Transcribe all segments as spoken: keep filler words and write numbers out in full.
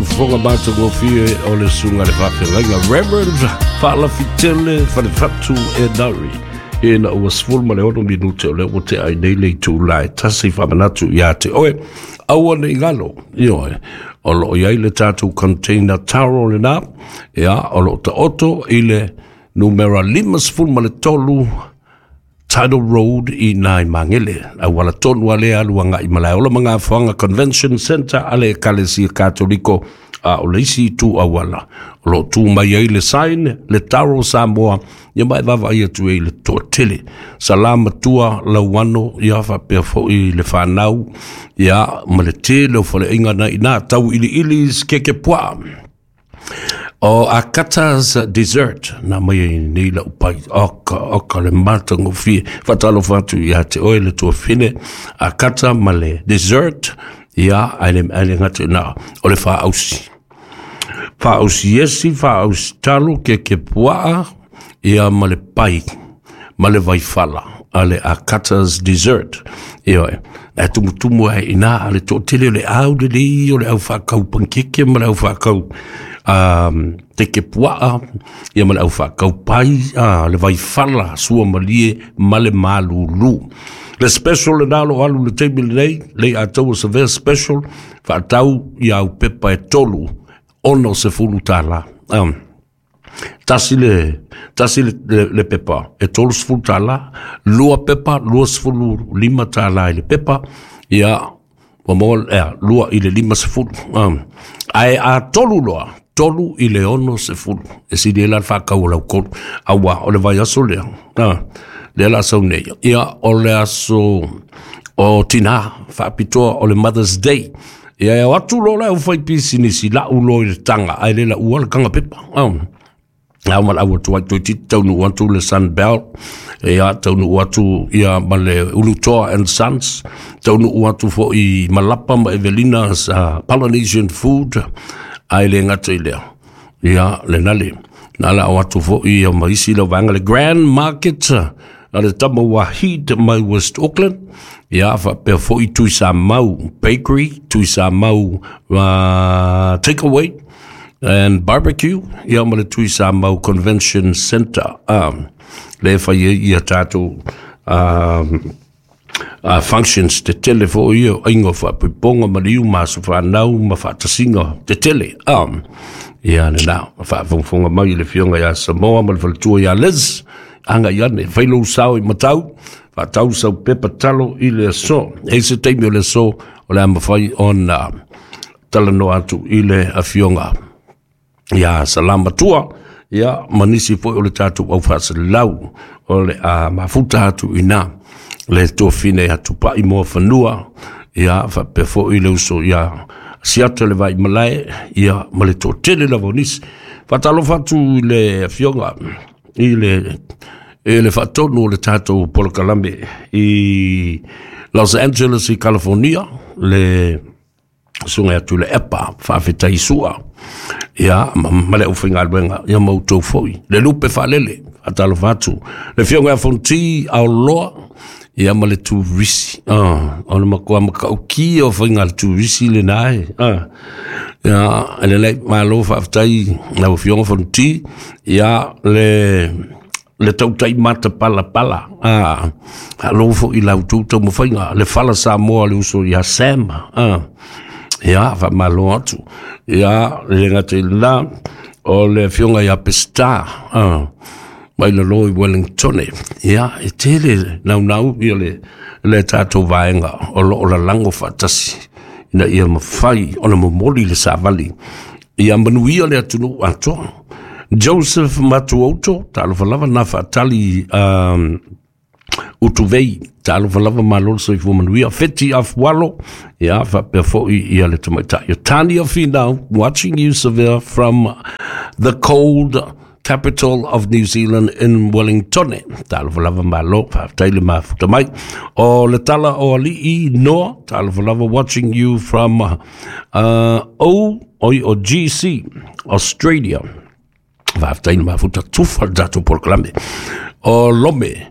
Fofoga matagofie o le susuga i le faafeagaiga Reverend Faalafitele Falefatu Enari, ina ua sefulu ma le ono minute o lea ua tea ai nei le itula e tasi. Faamanatu iā te oe, aua ne i galo, ioe, o loo i ai le tatou container taro lenā, ia, o loo taoto i le numera limasefulu ma le tolu Tidal Road i nai Magele, auala tonu a lea alu agai Malaeola ma Gafoaga Convention Center a le Ekalesia Katoliko, a o le isi itu auala o loo tu mai ai le sign, le Taro Samoa, ia, ma e vaavaai atu ai le toatele. Salamatua Lauano, ia, faapea foʻi le fanau, ia, ma le tele o faleaiga na ina tau iliili keke puaa o Akata's Dessert na mai ai nei lau pai. Oka oka le matagofie. Faatalofa atu iā te oe le tuafine Akata ma le dessert, ia, ae le ae le gata na o le faausi faausi esi faausi talo keke puaa, ia, ma le pai ma le vaifala a le Akata's Dessert. Ioe, e tumutumu ai ina a le toatele o le au lelei o le au faakau pankeke ma le au faakau um, teke puaa, ia, ma le au faakau pai, a le vaifala suamalie ma le malulu. Le special le nalo alu le taimi lenei, lei ataua savea special, faatau ia au pepa e tolu, ono sefulu tālā. Um, tasi le tasi le, le, le pepa e tolu sefulu tālā, lua pepa lua sefulu lima tālā i le pepa, ia, ua maua ea lua i le lima sefulu. Um, ae a tolu loa, tolu i le ono sefulu. E sili ai la le faakau o laukolu auā o le vaiaso lea, ah, lea la sau nei, ia, o le aso o tinā faapitoa, o le Mother's Day. Ia, e o atu loa le aufai pisinisi lau loa i le taga ae le laua le taga pepa. Um. Au ma le au atu ai toeitiiti taunuu atu le Sunbelt, ia, taunuu atu ia ma le Ulutoa and Sons, taunuu atu foʻi Malapa ma Evelina uh, Polynesian Food, ae le gata i lea, ia, lena le na le ao atu foʻi ia ma isi lau vaega le Grand Market a le tama Wahid mai West Auckland, ia, faapea foʻi Tuisamau Bakery, Tuisamau uh, Takeaway and Barbecue, ia, ma le Tuisamau Convention Center, um, le fai ai ia tatou um, uh, functions tetele foʻi ia o aiga faapuipoga ma liu ma aso fanau ma faatasiga tetele. um, ia lenā faafogafoga mai i le afioga iā Samoa ma le faletua iā Liz, agai ane fai lou sao i matau, faatau sau pepa talo i le aso. E se taimi o le aso o le a mafai ona talanoa atu i le afioga ia Salamatua, ia, ma nisi foi o le tatou au faasalau o le a mafuta atu ina le tofine atu paʻi moa fanua, ia, faapea foʻi le uso ia Siata le vai malae, ia, ma le toatele lava o nisi. Faatalofa atu i le afioga i le e le faatonu o le tatou polokalame i Los Angeles i California, le susuga atu le Epa Faafetai Sua, ia, ma, ma le aufaigaluega, ia, ma outou foʻi le lupe faalele. Faatalofa atu le afioga ia Fonti Aoloa, ia, ma le turisi, ah, o le matua makaʻukia o faiga le turisi lenā e, ah. Ia, e lelei, malo faafetai lau afioga Fonti, ia, le le tautai mata palapala, ah, alo foʻi lau tou taumafaiga le fala Samoa, le uso ia Sam, ah. Ia, faamalo atu, ia, le gata i lenā o le afioga ia Pesta, ah, mai lalo i Wellington, ia, e tele naunau ia le le tatou vaega o loo lalago faatasi ina ia mafai ona momoli le savali ia manuia le atunuu atoa. Joseph Matuoto, talofa lava na faatali um, utuvei, talofa lava, malo le soifua manuia. Feti Afualo, ia, faapea foʻi ia le tamaitai o Tania Finau, watching you, Severe, from the cold capital of New Zealand in Wellington. Talofa lava, malo faafetai le mafuta mai. O le tala o alii Noa, talofa lava, watching you from uh, O oi o G C Australia. Faafetai le mafuta tufa le tatou polokalame. O Lome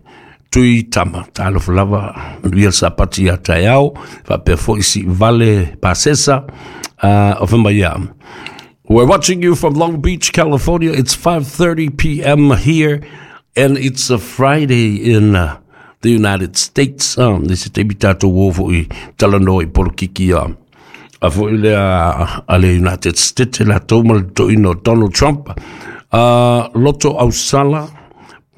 Tui Tama, talofa lava, manuia le sapati ia taeao, faapea foʻi si vale pasesa. Uh, o whamaya. We're watching you from Long Beach, California. It's five thirty p.m. here, and it's a Friday in uh, the United States. Um, this is te tātou o i talanoa i polokiki a a foi le a, a le United States la tau ma le toino Donald Trump. Uh, Loto Ausala,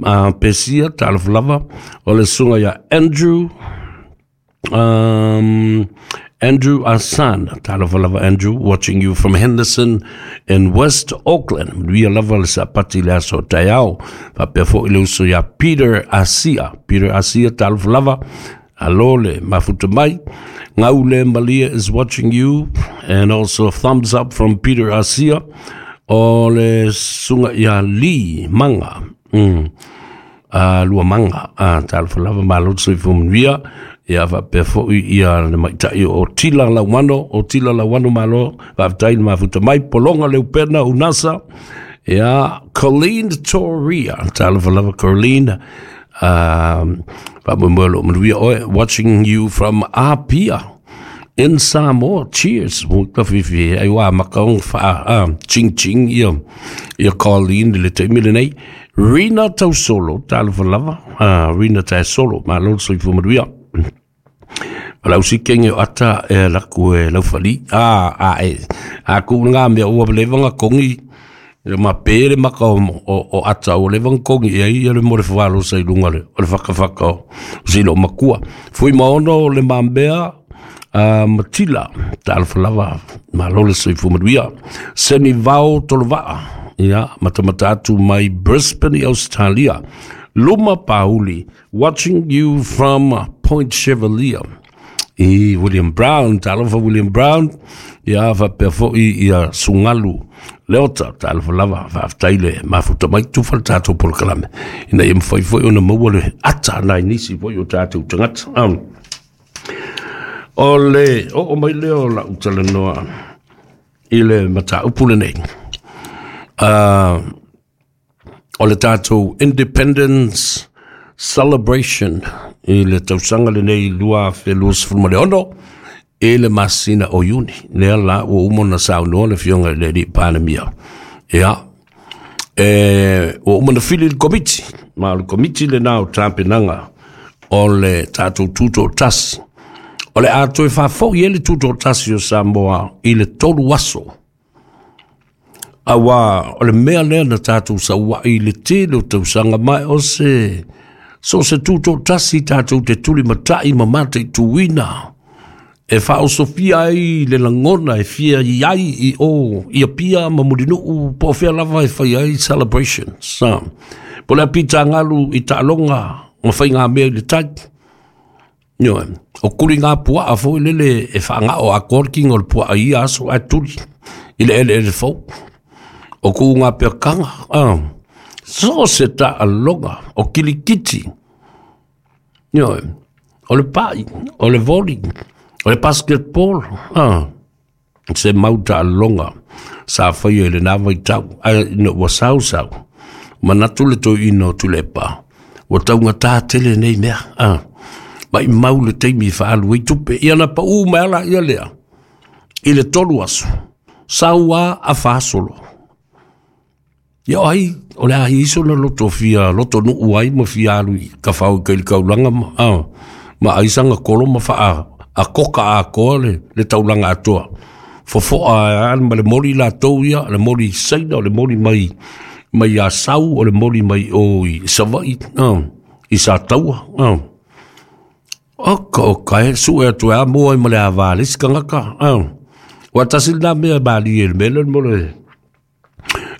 uh, Pesia, talofa lava, o le sunga ia Andrew, um, Andrew Asan, talofa lava Andrew, watching you from Henderson in West Auckland. Manuia lava le sapati le aso taiao. Faapea foi le uso ia Peter Asia. Peter Asia, talofa lava. Alo le mafuta mai. Ngaule Malia is watching you, and also a thumbs up from Peter Asia. O le sunga ia Lee Manga. Mm. Uh, lua manga. Uh, talofa lava malo soifua manuia. Ia faapea foi ia le maitai o Tila Lauano, o Tila Lauano malo, faafetai le mafuta mai, Polonga Leupena Unasa, ia Colleen Toria, talofa lava Colleen, um, faamoemoe lo manuia oe, watching you from Apia in Samoa. Cheers. Ka fifi ai wa makaong fa ah, ching ching ia ia Colleen le taimi lenei. Rina Tausolo, talofa lava, ah, Rina Tausolo, malo soifua manuia. Lau si kenge o ata e laku e laufali. Ah, ah, e. A ku ngā mea ua levanga kongi. E ma pere maka o, o, o ata o levanga kongi. E ai le more whawalo sa i lunga le, o le whakawhaka o silo makua. Fui maono le mambea uh, Matila. Talofa lava. Malo le soifua manuia. Seni vao tolovaa. Ia, matamata atu mai Brisbane, Australia. Luma Pauli, watching you from Point Chevalier. I William Brown, talofa William Brown, ia faapea foi ia Sungalu Leota, talofa lava, faafetai le mafuta mai tufa le tātou polokalame. Ina ia mawhai foi ona maua le ata nai nisi foi o tātou tagata. Um, o le, o o mai leo la utalanoa i le mataupu lenei. Uh, o le tātou Independence Celebration i le tausaga lenei lua afe luasefulu ma le ono e le masina o Iuni. Lea la ua uma ona saunoa le afioga i le alii Palemia. Ia, e, ua uma na fili le komiti, ma o le komiti lenā o tapenaga o le tātou tutoatasi. O le a toe faafoi ai le tutoatasi o Samoa i le tolu aso. Aua o le mea lea na tātou sauai i le tele o tausaga mai o se so se tutoatasi tātou te tuli matai ma mataituina e whaosofia ai le langona e fia i ai i o i Apia ma Mulinuu po o fea lava e whai ai celebrations. Po le apita ngalu i taaloga ma whai ngā mea i le tai. Ioe, o kuli ngā puaa foi lele e whaangao a korking o le puaa ia aso a tuli i le ele ele fau. O ku ngā peakanga, ah. So se taaloga, o kilikiti. Ioe, o le pai, o le voli, o le basketball, ah. Se mau taaloga, sa whaia i le nā vaitau, ai ina ua sau sau. Manatu le toi ina o tulepa, ua taunga tā tele nei mea, ah. Mai mau le teimi whaalu i tupe, ia na pa u mai ala ia lea. I le tolu aso, saua a whaasolo. Ia ai, o le ahi iso na loto fia, loto nuu ai ma fia alu i ka whau i kaili kaulanga ma, ah, ma aisanga kolo ma wha a koka a koa le, le taulanga atoa. Fofoa a ma le moli la tau ia, le moli saina, o le moli mai, mai a sau, o le moli mai o i Savai, ah, i sa taua, ah. Oka oka e, sue atu e a mua i ma le a vāle sikangaka, ah. Wa tasi nā mea bali e le mele mo le,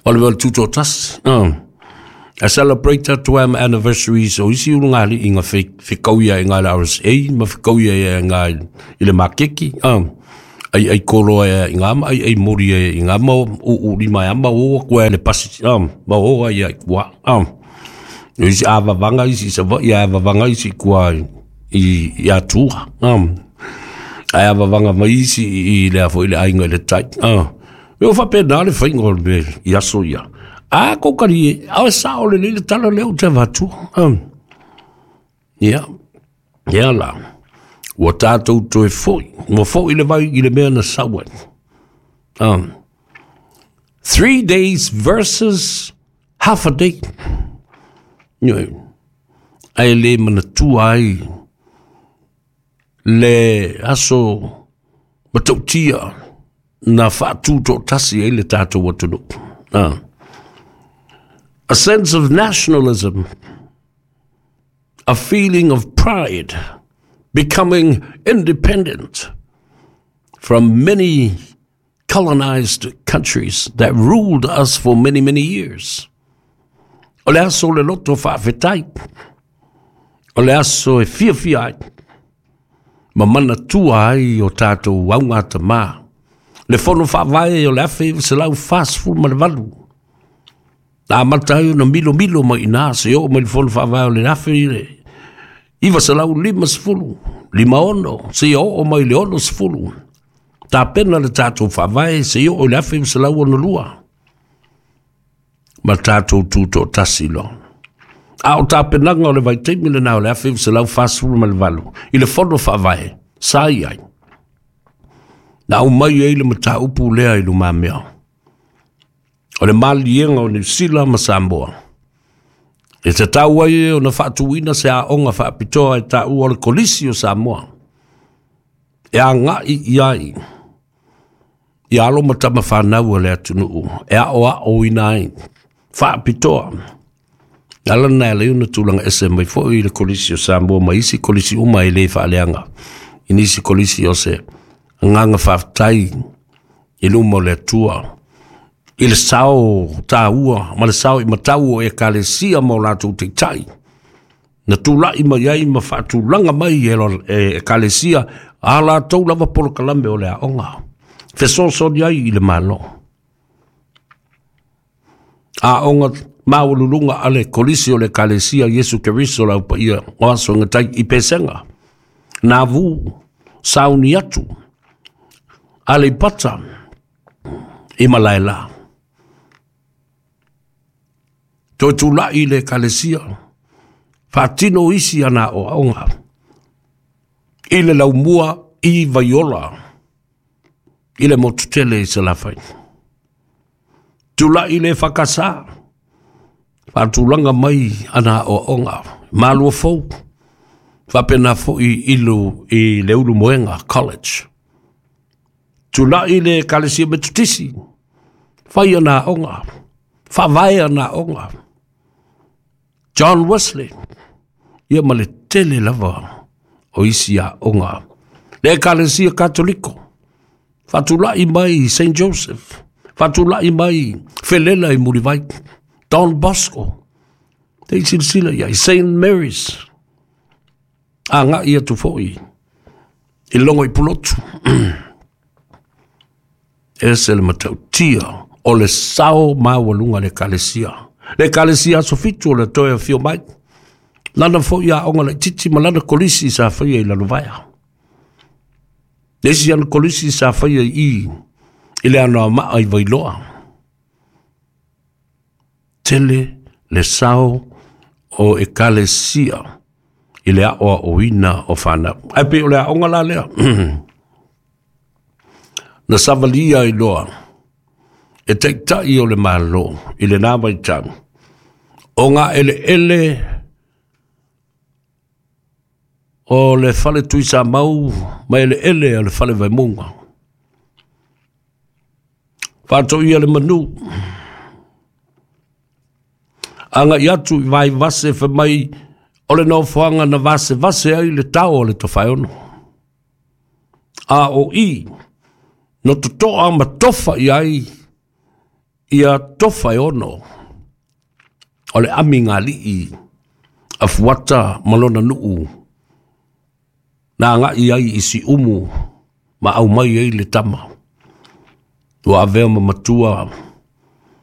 o le mea tutoatasi, ah. A celebrate atu am anniversaries o isi ulu ngā li inga whikauia i ngā le R S A, ma whikauia i ngā i le makeki, ah. Ai ai kolo e i ngā ma, ai ai mori e i ngā ma, u u lima e ama o kua e le pasi, ah, ma o ai ai kua, ah. Isi a vavanga isi sa va, ia a vavanga isi kua i, i atua, ah. Ai a vavanga mai isi i le afo i le ainga i le tai, ah. Me o whapena le whainga o le mea i aso ia. A kokari e, awe sa o le lele tala leo te vatua. Um. Ia, ia la. Ua tātou toe foi. Ua foi le vai i le mea na sau ai. Um, three days versus half a day. Ioe, ae le manatua ai le aso matautia na faatutoatasi ai le tatou atunuu. Ah. A sense of nationalism, a feeling of pride, becoming independent from many colonized countries that ruled us for many, many years. O le aso o le loto faafetai, o le aso e fiafia ai, ma manatua ai o tatou augatamā. Le fono faavae o le afe iva selau fasefulu ma le valu. Na amata ai ona milomilo mai i ina seia oo mai le fono faavae o le afe iva selau lima sefulu, lima ono, seia oo mai le ono sefulu. Tapena le tatou faavae seia oo i le afe iva selau ono lua. Ma tatou tutoatasi loa. A o tapenaga o le vaitaimi lena o le afe iva selau fasefulu ma le valu, i le fono faavae, sa i ai. Na aumai ai le mataupu lea i lumamea. O le maliega o Niu Sila ma Samoa. E tatau ai ona faatuina se aoga faapitoa e taua o le Kolisi o Samoa. E agai i ai ia alo ma tama fanau a le atunuu e aoaoina ai faapitoa. Ala na e ala ai ona tulaga ese mai foi i le Kolisi o Samoa ma isi kolisi uma e le faaleaga. I nisi kolisi o se agaga faafetai i luma o le Atua. I le sao taua ma le sao i matau o ekalesia ma o latou taitai. Na tulai mai ai ma faatulaga mai e ekalesia a latou lava polokalame o le aoga. Fesoasoani ai i le Malo. Aoga maualuluga a le Kolisi o le Ekalesia Iesu Keriso le Au Paia o Aso e Gatai i Pesega, Navu, Sauni atu, Aleipata, i Malaela. Toe tulai le Ekalesia, faatino isi ana aoaoga i le laumua i Vaiola, i le motu tele i Salafai. Tulai le Fakasa, faatulaga mai ana aoaoga, Malua Fou, faapena foi i i le Ulumoega College. Tulai le Ekalesia Metotisi, fai ana aoga, faavae ana aoga. John Wesley, ia ma le tele lava o isi aoga. Le Ekalesia Katoliko, faatulai mai Saint Joseph, faatulai mai Felela i Mulivai, Don Bosco, te i silasila i ai, Saint Mary's, agai atu foi i logo i Pulotu. Ese le matautia o le sao maualuga le Ekalesia. Le Ekalesia Aso Fitu o le Toe Afio Mai. Lana foi aoga laitiiti ma lana kolisi sa faia i Lalovaea. Le isi ana kolisi sa faia i i le Anoamaa i Vailoa. Tele le sao o Ekalesia i le aoaoina o fanau. Ae pei o le aoga la lea. Na savalia ai loa e taitai o le Malo i lena vaitau o gaeleele o le fale Tuisamau ma eleele o le fale Vaimauga. Faatoia le manu. Agai atu i Vaivase fai mai o le nofoaga na vasevase ai le tao o le Tofaeono. A o i na totoa ma tofa i ai ia Tofaeono o le amigalii a Fuata ma lona nuu na agai ai i Siumu ma aumai ai le tama ua avea ma matua